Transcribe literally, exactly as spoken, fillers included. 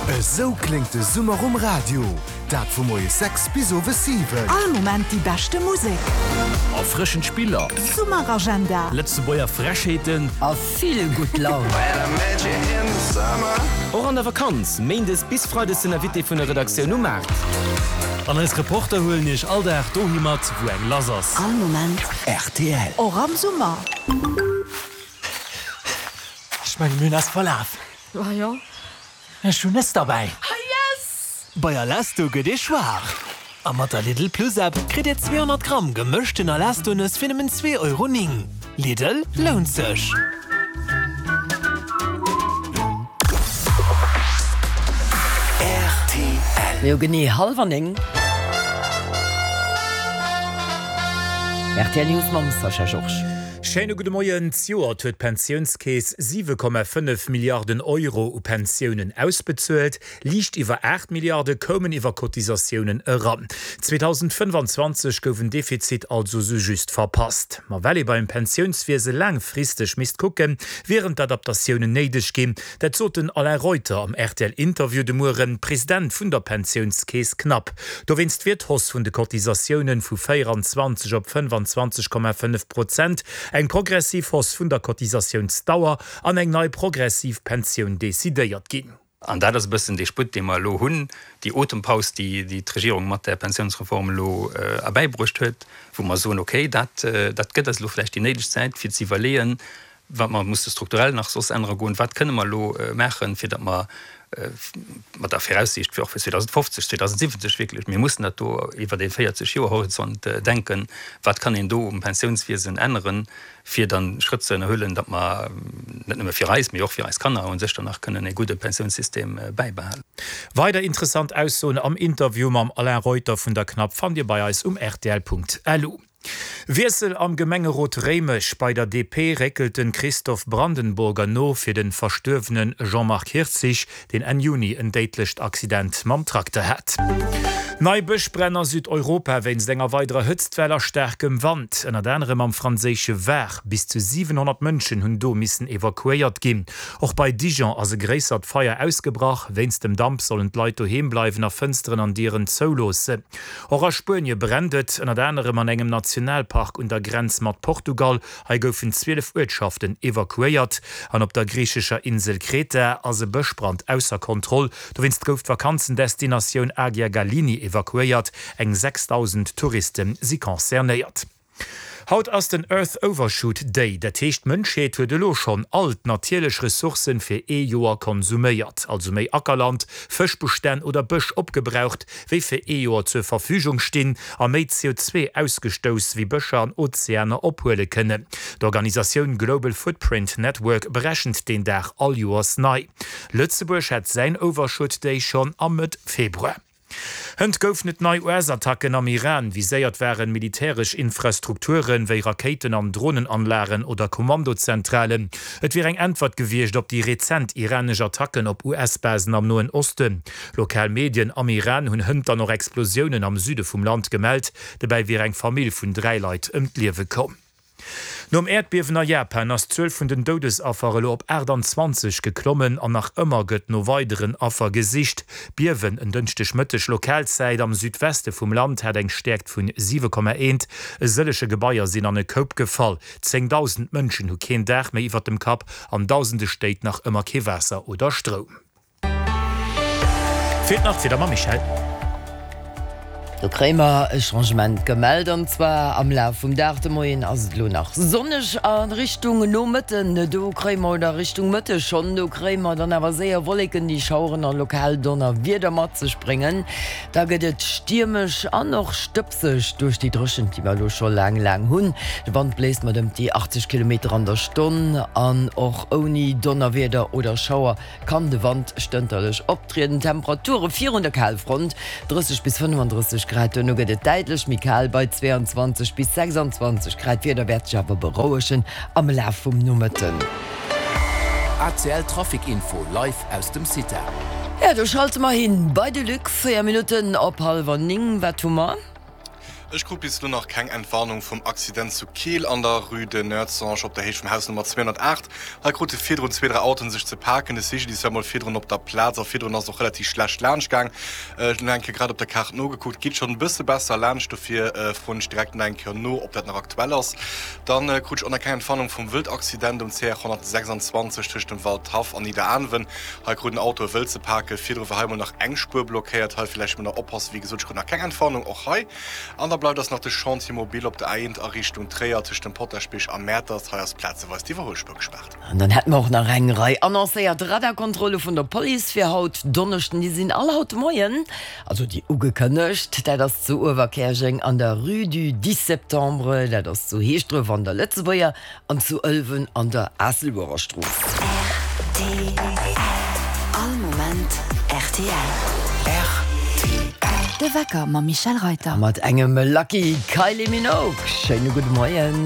Esou kléngt de Summer um Radio, dat vu moies sechs bis owes siwen. All Moment déi beschte Musek. Erfrëschend Spiller. Summeragenda. Lëtzebuerger Frechheeten. A vill gutt Laun. Och an der Vakanz, méindes bis freides den Invité vun der Redaktioun um Maart. An eis Reporter huelen iech all Dag dohi mat, wou eng lass ass. All Moment rtl. Och am Summer. Ech mengen, mir hunn eis verlaf. Ah jo. Ech hunn Nëss derbäi. Ah yes! Bei Alesto gëtt ee schwaach. A mat der Lidl Plus App kritt Dir zweehonnert Gramm gemëschten Alesto-Nëss fir nëmmen zwee Euro néng. Lidl, lount sech! Rtl. Jo, genee hallwer néng. Rtl News mam Sascha Georges. Schéine gudde Moien. Zejoert huet d'Pensiounskeess siwe Komma fënnef Milliarden Euro u Pensiounen ausbezuelt. Liicht iwwer aacht Milliarde koumen iwwer Cotisatiounen eran. zweedausendfënnefanzwanzeg gouf en Defizit also sou just verpasst. Ma well ee beim Pensiounswiese laangfristeg misst kucken, wieren d'Adaptatiounen néideg ginn. Dat sot den Alain Reuter am R T L-Interview de Mueren, President vun der Pensiounskeess Cnaps. Dowéinst wier d'Hausse vun de Cotisatioune vu véieranzwanzeg op fënnefanzwanzeg Komma fënnef Prozent, eng progressiv Hausse vun der Cotisatiounsdauer an eng nei progressiv Pensioun decidéiert ginn. An dat ass e bëssen dee Sputt, dee mer elo hunn, déi Otempaus, déi d'Regierung mat där Pensiounsreform elo erbäibruecht huet, wou mer soen, okay, dat gëtt eis elo vläicht déi néideg Zäit, fir ze iwwerleeën, wat mer musse strukturell nach soss ännere goen, wat kënne mer elo maachen, fir datt mer mat der Viraussiicht fir och fir zweedausendfofzeg, zweedausendsiwwenzeg wierklech, mir mussen dat do iwwert ee véierzeg-Joer-Horizont denken, wat kann een do um Pensiounswiesen änneren, fir dann Schrëtt ze ënnerhuelen, datt mer net nëmme fir eis, mee och fir eis Kanner u sech dann nach kënnen ee gudde Pensiounssystem bäibehalen. Weider interessant Aussoen am Interview mam Alain Reuter vun der Cnaps fannt Dir bei eis um rtl Punkt lu. Wiessel am Gemengerot Réimech, Bei der D P réckelt de Christoph Brandenburger no fir de verstuerwene Jean-Marc Hirtzig, deen Enn Juni en déidlecht Accident mam Trakter hat. Nei Bëschbränn a Südeuropa wéinst enger weiderer Hëtztwell a staarkem Wand, ënnert anerem am franséische Var. Bis zu siwenhonnert Mënschen hunn do missen evakuéiert ginn. Och bei Dijon ass e gréissert Feier ausgebrach. Wéinst dem Damp sollen d'Leit doheem bleiwen a Fënsteren an Dieren zouloossen. Och a Spuenie brennt et, ënnert anerem an engem Nationalpark un der Grenz mat Portugal. Hei goufen zwielef Uertschaften evakuéiert. An op der griichescher Insel Kreta ass e Bëschbrand ausser Kontroll. Dowéinst gouf d'Vakanzendestinatioun Agia Galini evakuéiert. Eng sechsdausend Touriste si concernéiert. Haut ass den Earth Overshoot Day, dat heescht d'Mënschheet huet elo schonn all d'natierlech Ressourcen fir ee Joer konsuméiert, also méi Ackerland, Fëschbestänn oder Bësch opgebraucht, wéi fir ee Joer zur Verfügung stinn, a méi C O zwee ausgestouss, wéi Bëscher an Ozeaner ophuele kënnen. D'Organisatioun Global Footprint Network berechent deen Dag all Joers nei. Lëtzebuerg hat säin Overshoot Day schonn am Mëtt Februar. Hënt goufen et nei U S-Attacken am Iran. Viséiert waren militäresch Infrastrukturen, wéi Rakéiten an Dronenanlagen oder Kommandozentralen. Et wier eng Äntwert gewiescht op déi rezent iranesch Attacken op U S-Basen am Noen Osten. Lokal Medien am Iran hunn hënt dann och Explosiounen am Süde vum Land gemellt. Dobäi wier eng Famill vun dräi Leit ëm d'Liewe komm. Nom Äerdbiewen a Japan ass d'Zuel vun den Doudesaffer elo op aachtanzwanzeg geklommen an nach ëmmer gëtt no weideren Affer gesicht. D'Biewen en Dënschdeg Mëtteg Lokalzäit am Südweste vum Land hat eng Stäerkt vun siwe Komma eent. E sëllege Gebaier sinn an e Koup gefall. Zéngdausend Mënschen hu keen Daach méi iwwert dem Kapp, an dausende Stéit nach ëmmer kee Waasser oder Stroum. Feelt nach d'Wieder mam Michèle. Do kréie mer e Changement gemellt, an zwar am Laf vum Dag. De Moien ass et elo nach sonneg, a Richtung Nomëtten, do kréie mer, oder Richtung Mëtteg schonn, do kréie mer dann awer séier Wolleken, déi Schaueren a lokal Donnerwieder mat sech bréngen. Da gëtt et stiermesch an och stëbseg duerch déi Dréchent, déi mer elo scho laang, laang hunn. De Wand bléist mat ëm déi achtzeg Kilometer an der Stonn an och ouni Donnerwieder oder Schauer kann de Wand stënterlech optrieden. Temperature virun der Kalfront, drësseg bis fënnefandrësseg Grad, duerno gëtt et däitlech méi kal bei zweeanzwanzeg bis sechsanzwanzeg Grad. D'Wieder wäert sech awer berouegen am Laf vum Nomëtten. A C L Trafic Info live aus dem CITA. Jo, do schalte mer hin bei de Luc. Véier Minutten op hallwer néng. Wat hu mer? Ech krut bis elo nach keng Entwarnung vum Accident zu Keel an der Rue de Noertzange op der Héicht vum Haus Nummer zweehonnertaacht. Hei krute virdrun zwee, dräi Autoen sech ze paken. De C G D I S war mol virdrun op der Plaz a virdrun ass et och relativ schlecht laanscht gaang. Ech hunn nach eng Kéier grad op der Kaart nogekuckt, geet schonn e bësse besser laanscht, dofir froen ech direkt nach eng Kéier no, ob dat nach aktuell ass. Dann krut ech och nach keng Entwarnung vum Wëldaccident um C R honnertsechsanzwanzeg tëscht dem Waldhaff an Nidderaanwen. Hei krut en Auto e Wëld ze paken. Virdru war hei mol nach eng Spuer blockéiert. Hei villäicht mol nach oppassen. Wéi gesot, ech krut nach keng Entwarnung och hei. An da bleift eis nach de Chantier mobile op der A eent a Richtung Tréier tëscht dem Potaschbierg a Mäertert. Hei ass plazeweis d'Iwwerhuelspuer gespaart. An dann hätte mer och nach eng Rei annoncéiert Radarkontrolle vun der Police fir haut Donneschden. Déi sinn all haut de Moien, also déi ugekënnegt. Dat ass zu Uewerkäerjeng an der Rue du dix septembre, dat ass zu Heeschdref an der Lëtzebuerger an zu Ëlwen an der Aasselbuerer Strooss. Rtl, All Moment rtl. Rtl. De Wecker mam Michel Reuter. Mat engem Lucky Kylie Minogue. Schéine gudde Moien.